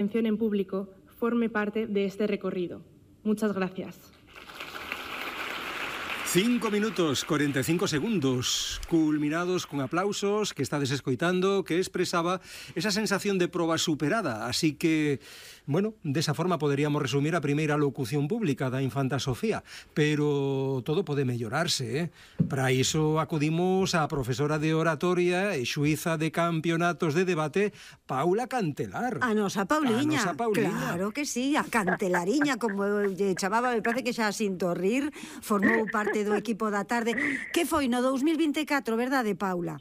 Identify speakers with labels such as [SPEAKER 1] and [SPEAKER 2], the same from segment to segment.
[SPEAKER 1] atención en público forme parte de este recorrido. Muchas gracias.
[SPEAKER 2] 5 minutos, 45 segundos, culminados con aplausos que estades escoitando, que expresaba esa sensación de proba superada. Así que, bueno, desa forma poderíamos resumir a primeira locución pública da infanta Sofía. Pero todo pode mellorarse, Para iso acudimos á profesora de oratoria e xuíza de campeonatos de debate, Paula Cantelar.
[SPEAKER 3] A nosa Pauliña.
[SPEAKER 2] A nosa Pauliña.
[SPEAKER 3] Claro que sí, a Cantelariña, como lle chamaba, me parece que xa sinto rir, formou parte do equipo da tarde. Que foi no 2024, verdade, Paula?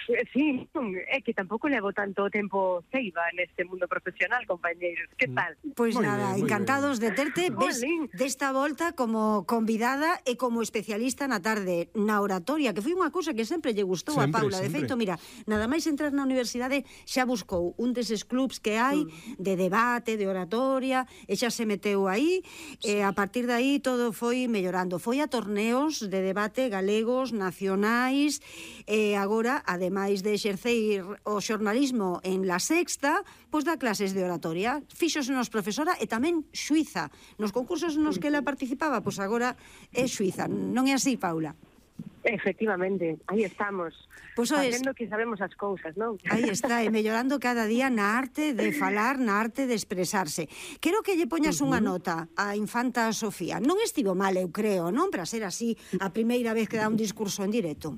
[SPEAKER 4] Sí, é que tampouco levo tanto tempo ceiba neste mundo profesional, compañeiros. Que tal?
[SPEAKER 3] Pois nada, encantados de terte. Ves desta volta como convidada e como especialista na tarde na oratoria, que foi unha cousa que sempre lle gustou a Paula. De feito, mira, nada máis entrar na universidade xa buscou un deses clubs que hai de debate, de oratoria, e xa se meteu aí, e a partir de aí todo foi mellorando. Foi a torneos de debate galegos, nacionais, e agora, ademais de exercer o xornalismo en La Sexta, pois dá clases de oratoria. Fíxose nos profesora e tamén xuíza. Nos concursos nos que ela participaba, pois agora é xuíza. Non é así, Paula?
[SPEAKER 4] Efectivamente, aí estamos.
[SPEAKER 3] Pois
[SPEAKER 4] facendo que sabemos as cousas, non?
[SPEAKER 3] Aí está, e mellorando cada día na arte de falar, na arte de expresarse. Quero que lle poñas unha nota á infanta Sofía. Non estivo mal, eu creo, non? Para ser así a primeira vez que dá un discurso en directo.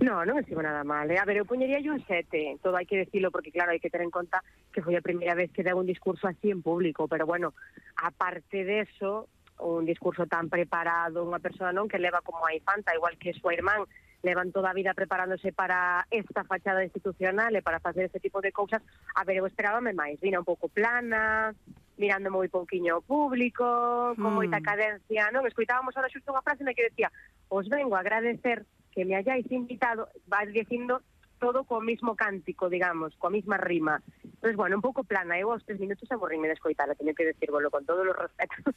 [SPEAKER 4] No, non estivo nada mal. A ver, eu poñería un 7. Todo hai que decirlo porque, claro, hai que ter en conta que foi a primeira vez que deu un discurso así en público. Pero, bueno, aparte de eso, un discurso tan preparado, unha persona non que leva como a infanta, igual que súa irmán, levan toda a vida preparándose para esta fachada institucional e para facer ese tipo de cousas. A ver, eu esperábame máis. Vina un pouco plana, mirando moi pouquiño ao público, con moita cadencia, non? Escoitábamos ahora xusto unha frase na que decía: os vengo a agradecer que me hayáis invitado, va dicindo todo co mismo cántico, digamos, coa misma rima. Entonces, bueno, un pouco plana. Eu aos 3 minutos aburríme de escoitala, teño que decírvolo con todos os respetos.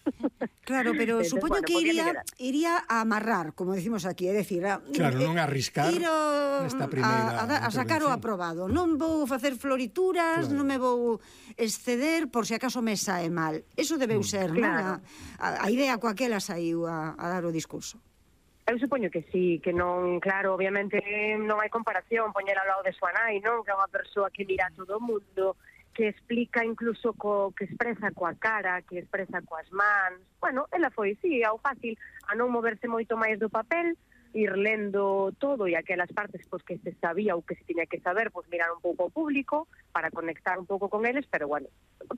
[SPEAKER 3] Claro, pero entonces, supoño que iría a amarrar, como decimos aquí, é dicir,
[SPEAKER 2] claro, non a arriscar nesta primeira
[SPEAKER 3] a sacar o aprobado. Non vou facer florituras, non me vou exceder por se acaso me sae mal. Eso debeu ser, non? A idea coa que ela saiu a dar o discurso.
[SPEAKER 4] Eu supoño que sí, que non, claro, obviamente non hai comparación, poñela ao lado de súa nai, non? Que é unha persoa que mira a todo o mundo, que explica incluso que expresa coa cara, que expresa coas mans. Bueno, ela foi, sí, ao fácil, a non moverse moito máis do papel, ir lendo todo e aquelas partes pois que se sabía ou que se tiña que saber, pois mirar un pouco ao público para conectar un pouco con eles, pero bueno, foi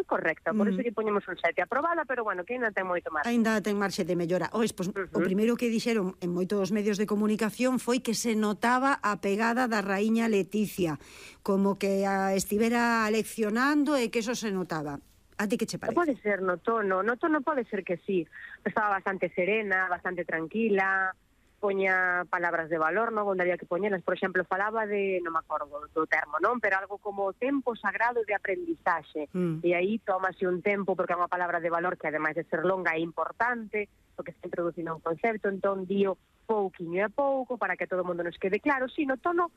[SPEAKER 4] correcta, por iso lle poñemos un 7 aprobada, pero bueno, que ainda ten moito marxe.
[SPEAKER 3] Ainda ten marxe de mellora. Pois, o primeiro que dixeron en moitos medios de comunicación foi que se notaba a pegada da raíña Leticia, como que a estivera leccionando e que eso se notaba. A ti que che parece?
[SPEAKER 4] Pode ser no tono pode ser que sí. Estaba bastante serena, bastante tranquila, poña palabras de valor, non? Onde había que poñelas, por exemplo, falaba de, non me acordo do termo, non? Pero algo como tempo sagrado de aprendizaxe. E aí tómase un tempo, porque é unha palabra de valor que, ademais de ser longa, é importante, porque está introducindo un concepto, entón dío pouquiño a pouco, para que todo o mundo nos quede claro. Si, no tono,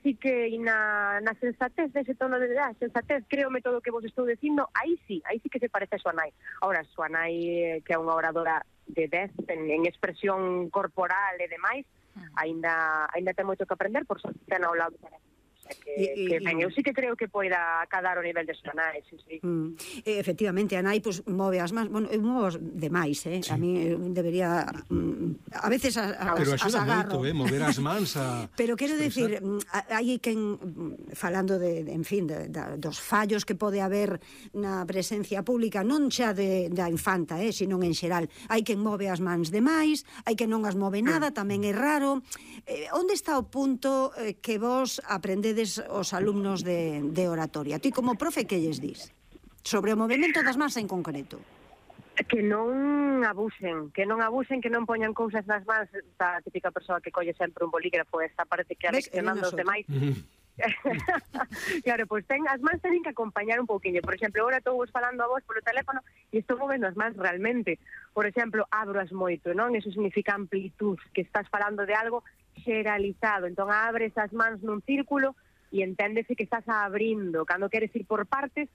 [SPEAKER 4] sí que na sensatez dese tono de sensatez, créome todo o que vos estou dicindo, aí sí que se parece a súa nai. Ahora, súa nai, que é unha oradora de 10 en expresión corporal e demais, ainda ten moito que aprender, por sorte ten ao lado que ben, eu sí que creo que poida acadar o nivel de súa nai, sí.
[SPEAKER 3] Efectivamente, a nai pues, move as mans, bueno, eu movo demais, sí. A mí debería a veces
[SPEAKER 2] pero axuda moito, mover as mans
[SPEAKER 3] pero quero decir, hai quen falando de, en fin, dos fallos que pode haber na presencia pública, non xa da infanta, sino en xeral. Hai quen move as mans demais, hai quen non as move nada, tamén é raro. Onde está o punto que vos aprendedes os alumnos de oratoria? Ti como profe, que lles dis? Sobre o movimento das mans en concreto.
[SPEAKER 4] Que non abusen, que non poñan cousas nas mans, esta típica persoa que colle sempre un bolígrafo, esta parece que aleccionando os demais. Claro, pois as mans teñen que acompañar un pouquiño. Por exemplo, agora estou falando a vos polo teléfono e estou movendo as mans realmente. Por exemplo, abroas moito, non? Eso significa amplitud, que estás falando de algo xeralizado. Entón abres as mans nun círculo e enténdese que estás abrindo, cando queres ir por partes,